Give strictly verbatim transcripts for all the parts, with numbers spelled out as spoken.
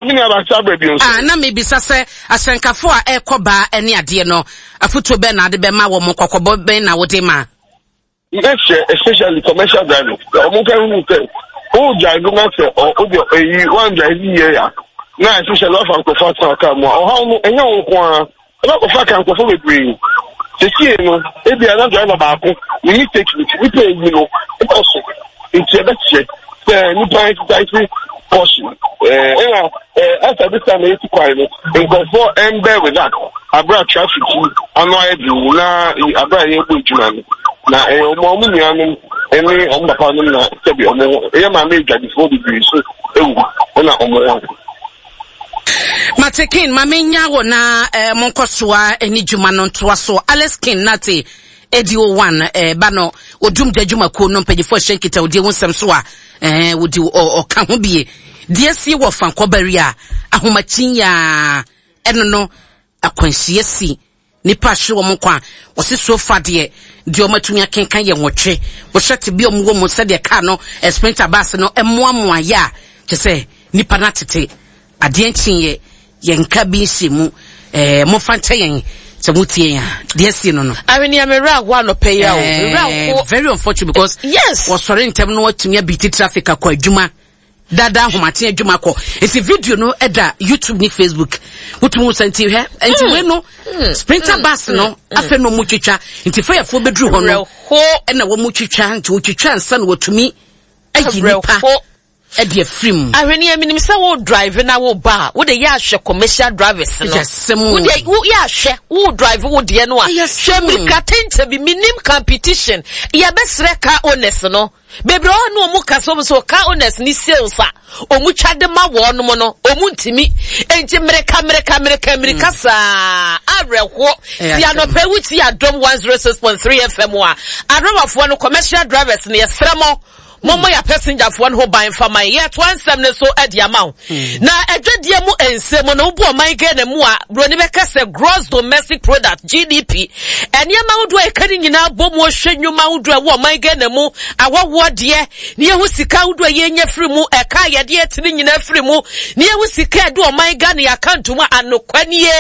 Me nua ba saa berɛ bio nso. Ah, na mebisa sɛ ahyɛnkafo a ɛrekɔ baa ne adeɛ no, afotuo bɛn na ade bɛma wɔn, kɔkɔbɔ bɛn na wode ma? Mɛkyerɛ especially commercial drivers sɛ wɔn nka hu sɛ o drive na sɛ ɔ o deɛ eyi wɔn drive yie a na especially wafa nkurɔfoɔ atena kaa mu a ɔhaw no ɛnyɛ wɔn nko ara ɛbɛkɔfa ka nkurɔfoɔ bebree sesie no ebi a na driver baako ne mistake nti nipa eyi no ɛkɔ so nti ɛbɛkyerɛ sɛ nipa exercise caution ɛɛ ɛna ɛɛ after this time eti kwan no nkurɔfoɔ ɛmbɛ with that abira traffic yi ano ayɛ den na abira yɛ bɔ adwuma no na ɛyɛ ɔmo ɔmo nuanom ɛne ɔmo papa nom na sɛbi ɔmo ɛyɛ maame adwadifoɔ bebree so ewu ɛna ɔmo ho. Mate King, ma menya wo na eh, monkɔ soa ne dwuma no ntoa so. Alex King Nate A D O one eh, ba no odum da dwumakuo no mpanyinfoɔ ɛhyɛ nkitahodie ho nsɛm so a eh, wodi ɔka ho bie deɛ sie wɔ fankɔbari a ahomakyin yaa ɛno no akwanhyia si nipa ahwere wɔn nkwa. Wɔsi so fa deɛ deɛ wɔn atumi akenkan yɛ nwɔtwe. Wɔhyɛ te bi a wɔn wɔ mu sɛdeɛ kaa no sprinter bus no mmoamoa yɛ a kyɛ sɛ nipa no atete adeɛ nkyenyɛ yɛn nka bi nhyɛ mu ɛɛ mofa nkyɛ yɛn sɛ mo tie yɛn a deɛ sie no no. Ahwene me werɛ aho anɔpɛ yi a o me werɛ aho. Very unfortunate because yes wɔsɔre ntɛm no watumi abeat traffic akɔ adwuma dada ahomaten adwuma kɔ nti video no ɛda YouTube ne Facebook wotumi wo sɛ nti hwɛ nti wei no sprinter bus no afei na ɔmo twitwa nti fayɛfoɔ bɛduru hɔ no ɛna wɔn twitwa nti wɔtwitwa nsa na wɔtumi ayi nipa ɛde afiri mu. Ahwene menim sɛ wo drive na wo ba a wode yɛ ahwɛ commercial drivers no wode yɛ ahwɛ wo drive wo deɛ no a hwɛ mmirika tɛnkyɛ bi menim competition. Yɛbɛsrɛ car owners no bebree hɔ ne ɔmo kasa ɔmo sɛ car owners ni sales a ɔmo twa de ma wɔn no ɔmo ntumi nti mmirika mmirika mmirika mmirika saa awerɛhoɔ. Ti anɔpɛ wuti Adom one zero six point three F M a adriverfoɔ no, commercial drivers no, yɛsrɛ mo, mommɔ yɛ passengerfoɔ no ho ban fa man. Yɛtoa nsɛm no so de ama wo na adwadeɛ mu nsɛm no wobu ɔman Ghana mu a buroni bɛka sɛ gross domestic product, G D P, nneɛma ahodoɔ a ɛka ne nyinaa bɔ mu. Ɔhwɛ nnwuma ahodoɔ a ɛwɔ ɔman Ghana mu awɔwoɔ deɛ ne yɛhu sika ahodoɔ a yɛnya firi mu, ɛka a yɛde ɛte ne nyinaa firi mu ne yɛhu sika a ɛde ɔman Ghana yɛ account mu a anokwa nie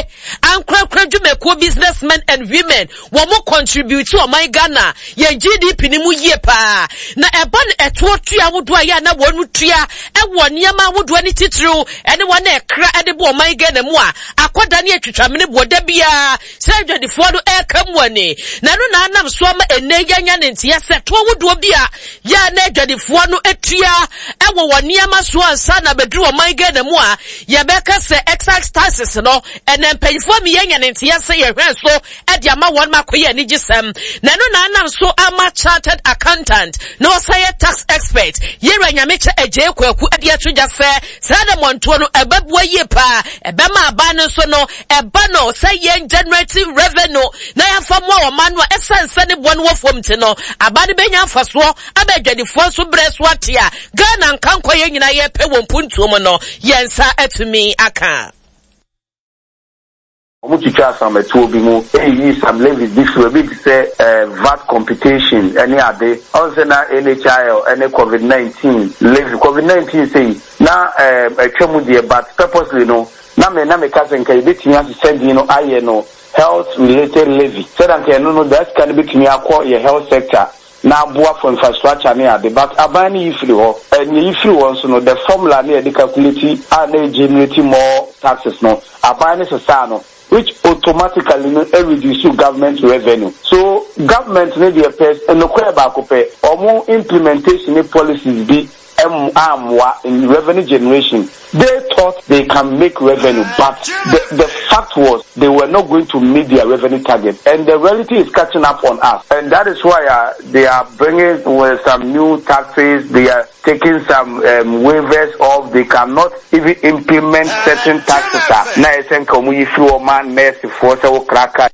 ankorakora dwumakuo, businessmen and women, wɔn mo contribute ɔman Ghana yɛn G D P ne mu yie paa. Na ɛba no ɛtoɔ tua ahodoɔ a yɛ a na wɔn tua ɛwɔ nneɛma ahodoɔ ne titiriw ɛne wɔn a ɛkra ɛde bɔ ɔman Ghana mu a akɔda ne atwitwamene boɔ da biara sɛ adwadifoɔ no ɛreka mu ani na ɛno na anam so ama ɛnɛ yɛnya ne nteɛ sɛ toɔ ahodoɔ bi a yɛ a na adwadifoɔ no atua ɛwɔ wɔn nneɛma so ansa na bɛduru ɔman Ghana mu a yɛbɛka sɛ excise taxes no, ɛnɛ mpanyinfoɔ mi yɛnya ne nteɛ sɛ yɛhwɛ so ɛde ama wɔn ma akɔyɛ anigyesɛm. Na ɛno na anam so ama chartered accountant na ɔsan yɛ tax expert yɛwura Nyamekyɛ Agye Kwaku ɛde ato gya sɛ saa na mmɔntoɔ no ɛbɛboa yie paa, ɛbɛma aban no nso no ɛba no sɛ yɛn generate revenue na yɛmfa mmoa ɔman no a ɛsiane sɛ ne boɔ no wɔ fam nti no aban no bɛnya mfasoɔ ama adwadifoɔ nso berɛ so ate a Ghana nkankɔ yɛn nyinaa yɛpɛ wɔ mpuntuo mu no yɛn nsa atumi aka. Wɔn twitwa asamatuo bi mu eyiyi some levies bi firi ebi te sɛ ɛɛ V A T computation ɛne ade ɔn sɛ na N H I L ɛne COVID nineteen levy. COVID nineteen sɛyi na ɛɛ atwa mu deɛ, but purposely no na me na meka sɛ nka yɛbɛtumi ahyehyɛ din no ayɛ no health related levy sɛdeɛ nka ɛno no daa sika no bɛtumi akɔ yɛ health sector na aboa for infrastructure ne ade, but aban no yi firi hɔ. Ɛnea yi firi hɔ nso no, the formula ne yɛde calculate a na generate more taxes no, aban no sesaa no, which automatically no reduce government revenue. So government ne deɛ pɛ nokorɛ baako pɛ, ɔmo implementation ne policies bi ɛm ammoa in revenue generation. They thought they can make revenue, but the the fact was they were not going to meet their revenue target, and the reality is catching up on us, and that is why uh, they are bringing with some new taxes. They are taking some um, waivers off. They cannot even implement certain taxes a na ɛsɛ nka ɔmo yi firi ɔma nɛɛsefoɔ sɛ wo kraka.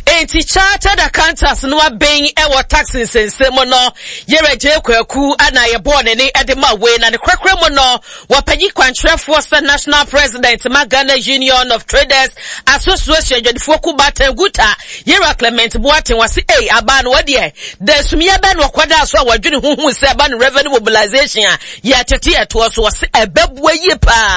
Enti Chartered Accountants no abɛn wɔ tax nsɛnsɛm mu no, Yerɛ Gyei Kwaku na yɛbɔɔ ne ne de ma wei na ne korakora mu no, wɔpanyin kwankyerɛfoɔ sɛ National President ma Ghana Union of Traders Association adwadifoɔ ku Baatan Guta, Yerɛ Clement Boateng wɔse ei abaa no wɔdeɛ da asumyɛ bɛn na ɔkɔdaa so a wɔadwene ho hu sɛ ɛba no revenue mobilization a yɛtete ɛtoɔ so wɔse ɛbɛboa yie paa.